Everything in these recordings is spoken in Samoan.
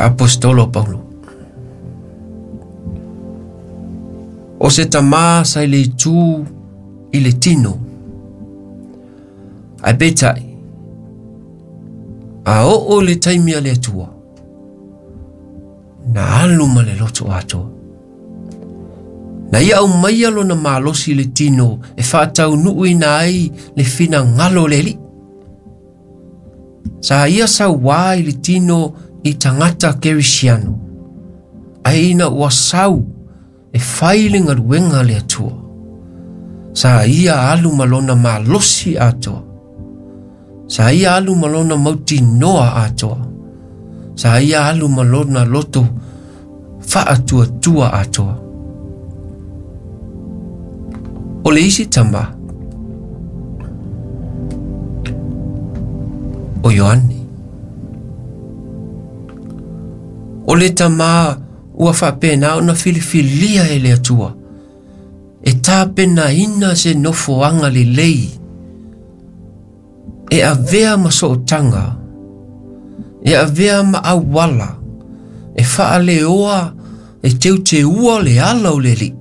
Aposetolo o Paulo. O se tamā sa i le itu i le tino. Ae peitai, a oo le taimi a le Atua, na alu ma le loto atoa. Na ia aumaia lona malosi i le tino e faataunuuina ai le finagalo o le Alii. Sa ia sauā i le tino i tagata Kerisiano, ae ina ua sau e fai le galuega a le Atua, sa ia alu ma lona malosi atoa. Sa ia alu ma lona mautinoa atoa. Sa ia alu ma lona loto faatuatua atoa. O le isi tama, o Ioane. O le tama ua faapena ona filifilia e le Atua e tapenaina se nofoaga lelei e avea ma sootaga, e avea ma auala, e faaleoa, e teuteua le ala o le Alii.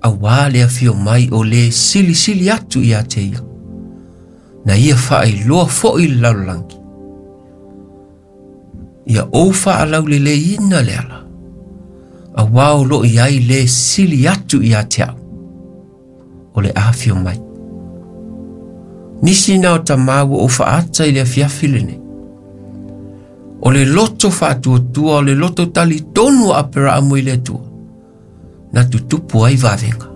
Auā le afio mai o le silisili atu ia te ia, na ia faailoa foi le lalolagi. Ia ou faalauleleiina le ala, auā o lo o i ai le sili atu ia te au, o le afio mai. Nisi na o tamā ua ou faata i le afiafi lenei. O le loto faatuatua, o le loto talitonu o Aperaamu i le Atua, na tutupu ai vavega.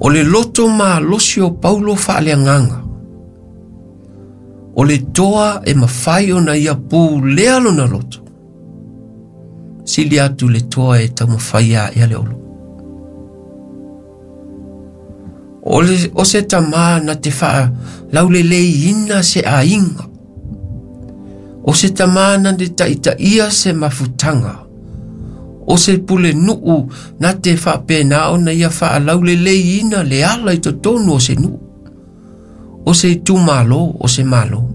O le loto malosi o Paulo faaleagaga, o le toa e mafai ona ia pulea lona loto, sili atu le toa e taumafai a le olo. O, le, o se tamā na te faalauleleina se aiga. O se tamā na te taitaia se mafutaga. O se pulenuu na te faapena ona ia faalauleleina le ala i totonu o se nuu. O se itumalo, o se malo.